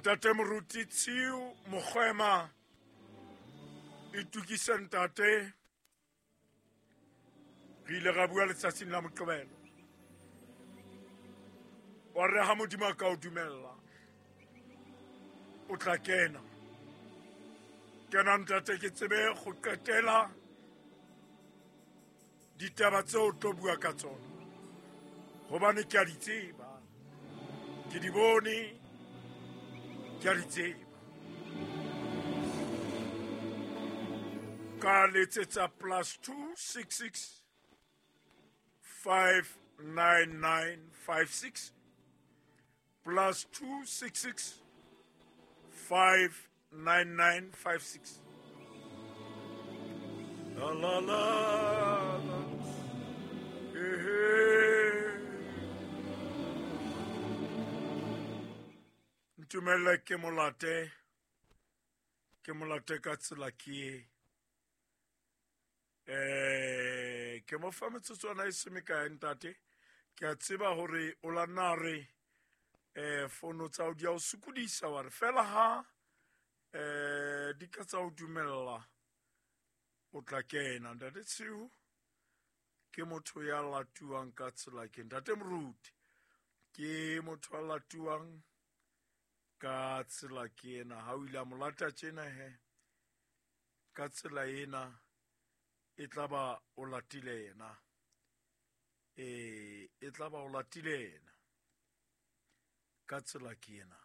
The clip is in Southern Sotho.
Ntate Moruti Tshiu Mokgwema, itukise ntate. Re ile ra bua letsatsing la Moqebelo, wa re ha Modimo a ka o dumella o tla kena. Kena ntate, ke tsebe go qetela ditaba tseo o tlo bua ka tsona, gobane ke a di tseba, ke di bone, ke a di tseba. Ka letsetsa +266 59956, +266 59956. La la la la. Ehe. Ntumelle ke molate, ke molate ka tsela ke e. Ke mo fa metsotswana e se mekae ntate. Ke a tseba hore o la nna re fono tsa o di a o sokodisa, wa re fela ha di ka tsa o dumella o tla kena. Ntate Tshiu ke motho ya latuwang ka tsela ke ntate Moruti, ke motho a latuwang ka tsela ke ena. Ha o ile a mo lata tjena he, ka tsela ena e tla ba o latile yena, e tla ba o latile yena ka tsela ke ena.